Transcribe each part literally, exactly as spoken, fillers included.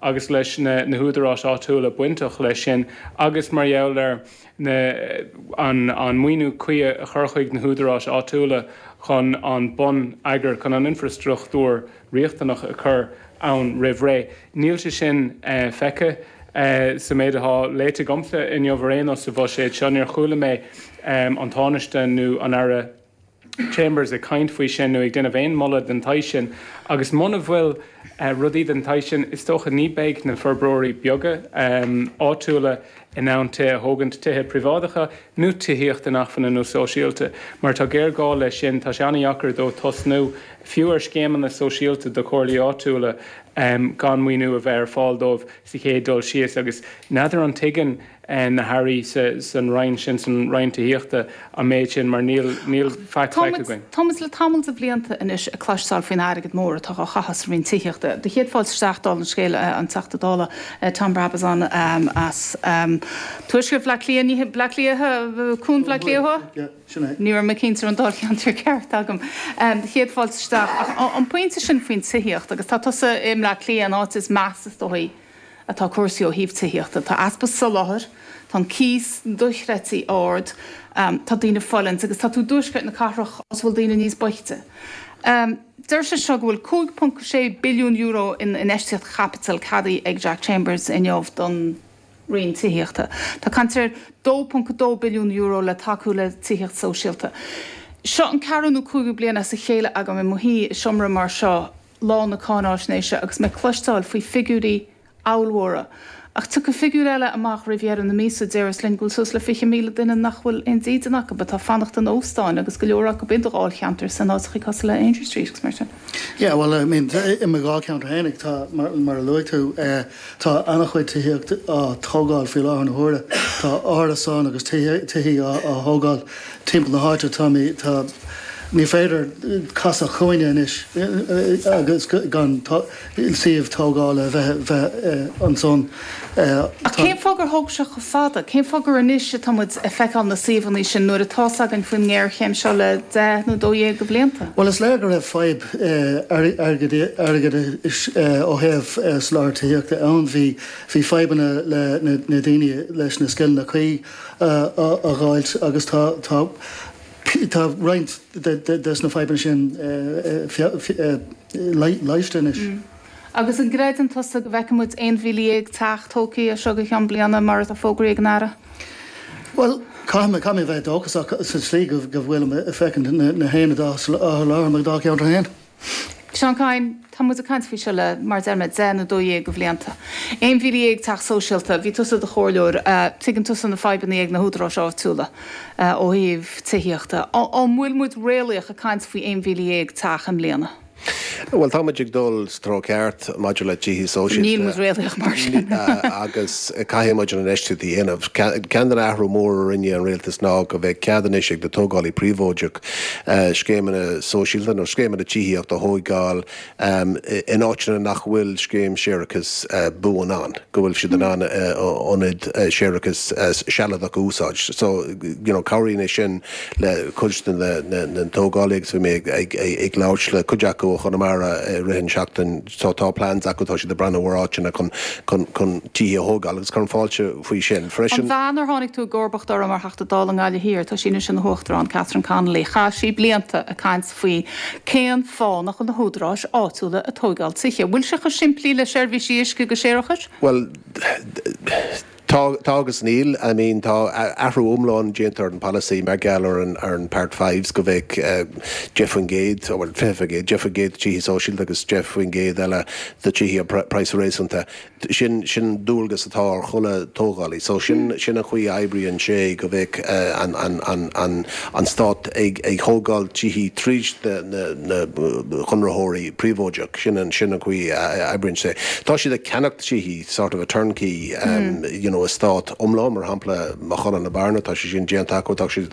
agus leis na, na húdaráis áitiúla bainteach leis sin agus mar gheall ar na, an, an maoiniú cuí a chur chuig na húdaráis áitiúla chun an bonneagar chun an infrastruchtúr riachtanach a chur ann roimh ré. Níl sé sin uh, feicthe uh, sa méid atá léite agamsa inniu ar aon nós sa bhuiséad seo níor chuala mé um, an Tánaiste nó an Aire Chambers ag caint faoi sin nó ag déanamh aon mholadh den tsaghas sin agus muna bhfuil uh, rudaí den tsaghas sin is dócha ní bheidh na forbróirí beaga um, áitiúla in ann tithe a thógaint tithe príobháideacha nó tithíocht inacmhainne nó sóisialta. Mar tá géarghá leis sin tá sé an-deacair dóibh tosnú fiú ar scéimeanna sóisialta do chomhairlí áitiúla um, gan maoiniú a bheith ar fáil dóibh sa chéad dul síos agus n'fheadar an dtuigeann uh, na hairí san Roinn sin san Roinn Tithíochta an méid sin mar níl níl faic againn. Táimid le tamall de bhlianta anois ag cloisteáil faoin airgead mór atá á chaitheamh sa Roinn Tithíochta. Do chéad fáilte isteach dála an scéil an Teachta Dála Tom Brabazon um, as um, Tuaisceart Bhaile Átha Cliath Bleá Cliath Cuan Bhaile Átha Cliath? Ní raibh mé cinnte an dáilcheantar ceart agam. Um, chéad fáilte isteach an pointe sin faoin tithíocht agus tá tusa i mBleá Cliath an áit is measa is dóigh atá cúrsaí ó thaobh tithíochta. Tá easpa soláthair, Tá an cíos dochreidte ard, um, tá daoine fulaingt agus tá tú i dtuaisceart na cathrach is bhfuil daoine níos boichte. Um, Deir sé seo go bhfuil cúig ponc sé billiún euro in infheistíocht chaipitil ceadaithe ag Jack Chambers inniu don Roinn Tithíochta. Tá caint ar dó ponc dó billiún euro le tacú le tithíocht sóisialta. Seo an ceathrú nó cúigiú bliain as a chéile agam i mo shuí i seomra mar seo lá na cáináisnéise agus mé ag cloisteáil faoi figiúirí ollmhóra. Ach tiocfaidh figiúr eile amach roimh dheireadh na míosa déarfas linn go bhfuil suas le fiche míle duine nach bhfuil aon dídean acu atá ag fanacht in óstáin agus go leor acu i ndáilcheantar san áiteacha cosúil le Aungier Street agus mar sin. Yeah, well, I mean, i mo dháilcheantar féinig tá mar, mar a luaigh tú eh, tá an-chuid tithíocht á tógáil faoi láthair na huaire. Tá árasáin agus tithe á thógáil timpeall na háite tá tá ní féidir casadh cúinne anois agus gan suíomh tógála bheith bheith ansan. Ach cén fáth gur thóg sé chomh fada, cén fáth gur anois atá muid ag feiceáil na suíomhanna sin nuair atá againn faoin ngéarchéim seo le deich nó dó dhéag de bhlianta. Well is léir go raibh fadhb airgead ó thaobh soláthar tithíochta ann bhí bhí fadhbanna le na daoine leis na scileanna cuí a fháil agus tá tá tá roinnt des na fadhbanna sin leigheasta anois. Mm. Agus an gcreideann tusa go bhfeicfidh muid aon mhíle dhéag teach tógtha seo go ceann bliana mar atá fógraithe ag an Aire? Well, caithfidh mé bheith dóchasach sa tslí go bhfuil feiceann na haonaid á soláthar mo dháilcheantar féin. Seán Kyne, tá muid ag caint faoi seo le mar deir mé deich nó dó dhéag de bhlianta. Aon mhíle dhéag teach sóisialta, bhí tusa i do chomhairleoir, tuigeann tusa na fadhbanna ag na húdaráis áitiúla ó thaobh tithíochta. An bhfuil muid réalaíoch ag caint faoi aon mhíle dhéag teach i mbliana? Well tá muid ag dul sa treo ceart maidir le tithe sóisialta. Níl muid réalaíoch mar sin. agus caithfidh muid an infheistíocht a dhéanamh. Ceann den athrú mór a rinne an rialtas ná go bheidh cead anois ag na tógálaí príobháideach scéimeanna sóisialta nó scéimeanna tithíochta a thógáil in áiteanna nach bhfuil scéim séarachais buan ann, go bhfuil siad in ann ionad séarachais sealadach a úsáid. So you know, cabhraíonn é sin le cuid de na tógálaí agus bhí mé ag ag labhairt le cuid acu ó Chonamara rith an seachtain so tá plans acu tá siad ag breathnú ar áiteanna chun chun chun tithe a thógáil agus cuirim fáilte faoi sin. Freisin. An bhean ar tháinig tú i gcomharbacht uirthi mar Theachta Dála i nGaillimh Thiar, tá sí anois ina huachtarán Catherine Connolly, chaith sí blianta ag caint faoi cén fáth nach bhfuil na húdaráis áitiúla ag tógáil tithe. Bhfuil sé chomh simplí le seirbhísí uisce agus séarachais? Well, Tá tá agus níl I mean tá athrú iomlán déanta ar an policy mar gheall ar an ar an part fives go bheadh deich faoin gcéad bhfuil fiche faoin gcéad deich faoin gcéad tithe sóisialta agus deich faoin gcéad eile de tithe praghas réasúnta sin sin dualgas atá ar chuile tógálaí so sin sin an chaoi a oibríonn sé go bheadh an an an an an stát ag ag thógáil tithe tríd na na na conraitheoirí príobháideach sin an sin an chaoi a oibríonn sé. Tá siad ag ceannach tithe sort of a turnkey um, you know eastát iomlán mar shampla Maigh Cuilinn na Bearna tá sé sin déanta acu tá sé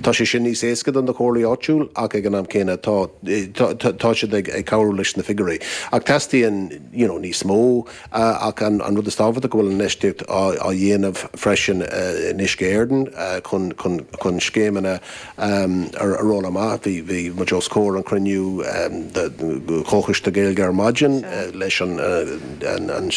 tá sé sin níos éasca don na comhairlí áitiúil ach ag an am céanna tá tá siad ag ag cabhrú leis na figiúirí. Ach teastaíonn you know, níos mó uh, ach an, an rud is tábhachtaí go bhfuil an infheistíocht á, á dhéanamh freisin uh, in Uisce Éireann uh, chun, chun, chun scéimeanna um, ar, a rolladh amach bhí bhí muid os comhair an cruinniú um, Comhchoiste Gaeilge ar maidin uh, leis an, uh, an, an